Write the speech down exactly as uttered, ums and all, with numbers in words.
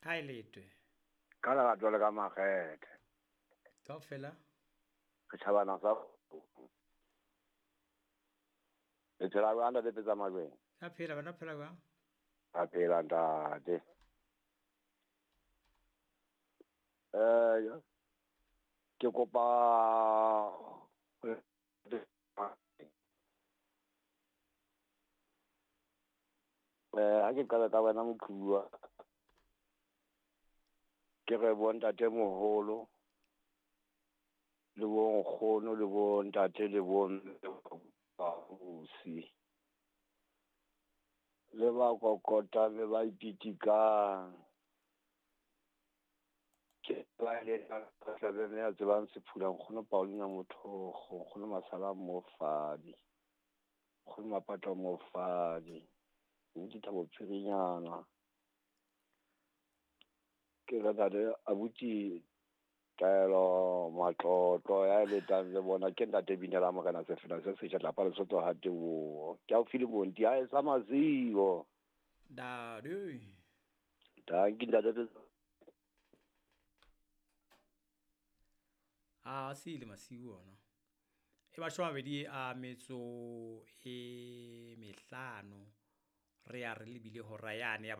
Ha e letwe. Ka lerato le ka makgethe. Kaofela. Re tjhabana sa Le phela jwang ntate Petsa Majweng? Ka phela bana phela jwang? Ka phela ntate. Eh ke kopa eh ha ke qala ka wena moqhuwa ke re bo ntate moholo le bo nkgono le bo ntate le bo ausi le ba kokota le ba ipitikang ke ba le tlabe mme a tsebang sephula nkgono Paulina Mothogo nkgono Masala Mofadi nkgono Mapatwa Mofadi ntse Thabo Phirinyana ke re ntate abuti Taelo Matlotlo ya letang le bona ke ntate Binela Morena Sefela se setjha tlapa Lesotho ha teboho ke a file bonti ha e sa mazibo Dadu danki ntate a se ile masiu ona e mashome a mabedi a metso e mehlano re ya re lebile hora yane ya